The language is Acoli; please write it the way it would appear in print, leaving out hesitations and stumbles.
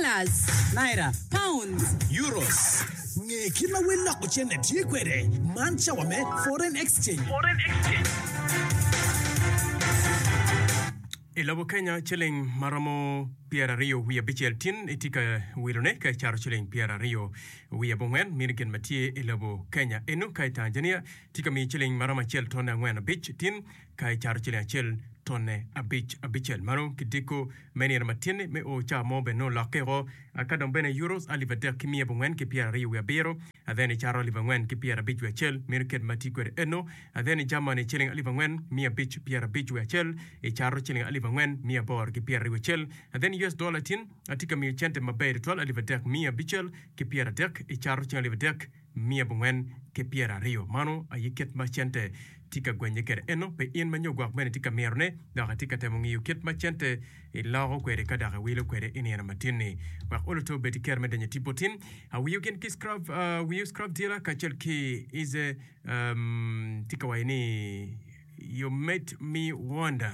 Dollars. Naira. Pounds. Euros. Nge kit ma wel loko cente tye kwede. Man cawa me Foreign Exchange. I lobo Kenya, ciling ma romo 29 tin itye ka wilone ka icato ciling 29 meno gin ma tye i lobo Kenya. Eno ka i Tanzania tye ka miyo ciling ma romo acel tonne angwen abic tin ka icato ciling acel tonne abic abicel. Mano kidiko me nino matin-ni me o cawa mo bene nongo olokke woko. Ka dong bene euros alip adek ki miya abongwen ki 27 then icato alip angwen ki 51 meno kit ma tye kwede eno. Then i Germany ciling alip angwen 551 icato ciling alip angwen 821. Then US dollar tin atye ka miyo cente maber tutwal alip adek 530 icato ciling alip adek 420. Mano aye kit ma cente tye ka gwenye kwede. Eno pe in ma nyo gwok bene itye ka mirone dok itye ka temo ngiyo kit ma cente iloko kwede ka dok iwilo kwede i nino matin-ni. Wek olo to obed ki kero me donyo i tipo tin. Awiyo gin ki scrub, wiyo scrub dealer kacel ki Ize um, tye ka waco ni You made me wonder.